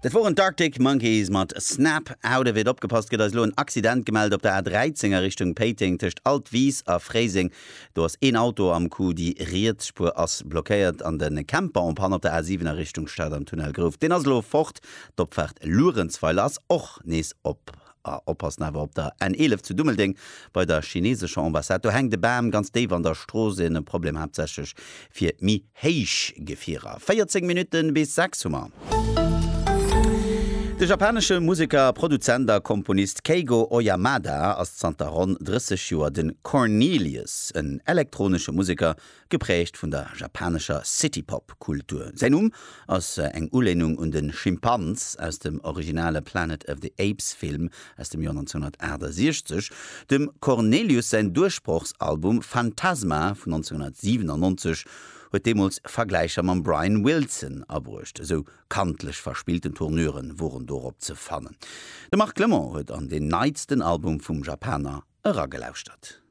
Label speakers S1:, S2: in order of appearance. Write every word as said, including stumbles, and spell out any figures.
S1: Dat woren d'Arctic Monkeys mat Snap Out of It. Opgepasst, gëtt eis elo en Accident gemellt op der A dräizéng a Richtung Péiteng tëscht Altwis a Fréiseng. Do ass een Auto am Coup, déi riets Spuer ass blockéiert an de Camper en panne op der A siwen a Richtung Stad am Tunnel Grouft. Deen ass elo fort. D'Opfaart Luerenzweiler ass och nees op. A oppassen awer op der N eelef zu Dummeldeng bei der chinesescher Ambassade. Do hänkt e Bam ganz déif an der Strooss, en Problem haaptsächlech fir méi héich Gefierer. véierzéng Minutten bis sechs hu mer. De japanesche Museker, Produzent a Komponist Keigo Oyamada ass zanter ronn drësseg Joer de Cornelius, en elektronesche Museker, gepräägt vun der japanescher City-Pop-Kultur. Säin Numm ass eng Ulehnung un de Schimpans aus dem originale Planet of the Apes-Film aus dem Joer nonzénhunnertaachtasechzeg. Dem Cornelius säin Duerchbrochsalbum Phantasma vun nonzénhunnertsiwenannonzeg huet deemools Vergläicher mam Brian Wilson abruecht, esou kantlech verspillten Tournuren woren dorop ze fannen. De Marc Clement huet an deen neitsten Album vum Japaner eragelauschtert.